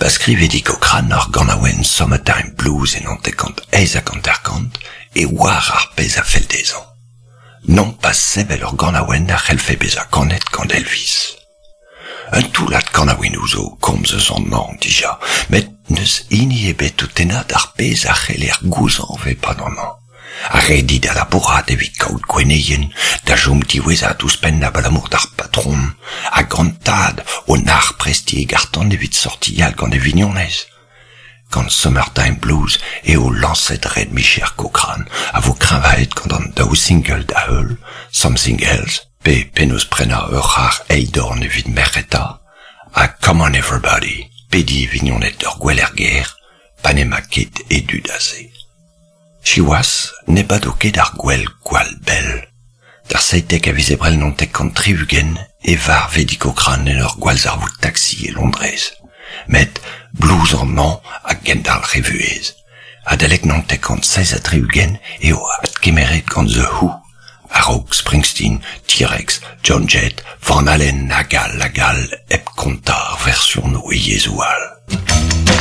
Pa skrive Eddie Cochran ar ganaouenn Summertime Blues e 1958 e oar ar pezh a fell dezhañ. Nompas sevel ur ganaouenn a c'hellfe bezañ kanet gant Elvis. Un toullad kanaouennoù zo komz eus an hañv dija, met n'eus hini ebet o tennañ d'ar pezh a c'heller gouzañv e-pad an hañv. Ar redi da labourat evit kaout gwenneien, da chom diwezhat ouzhpenn abalamour d'ar patron, hag an tad o nac'h prestiñ e garr-tan evit sortial gant e vignonez. Gant Summertime Blues eo lañset red-micher Cochrane a vo kreñvaet gant an daou single da-heul, Something Else pe Penaos prenañ ur c'harr eil-dorn evit merc'heta ha Come on Everybody, pediñ e vignoned d'ur gwel er gêr pa n'emañ ket e dud aze. Siwazh, ne bado ket ar gwel gwall bell. D'ar 17 a viz Ebrel 79 e varv Eddie Cochran en ur gwallzarvoud taksi e Londrez. Met blues an hañv a gendalc'h e vuhez. Adalek 1967 eo adkemeret gant The Who, a-raok Springsteen, T-Rex, Joan Jett, Van Halen hag all hag all hep kontañ ar versionoù e yezhoù all.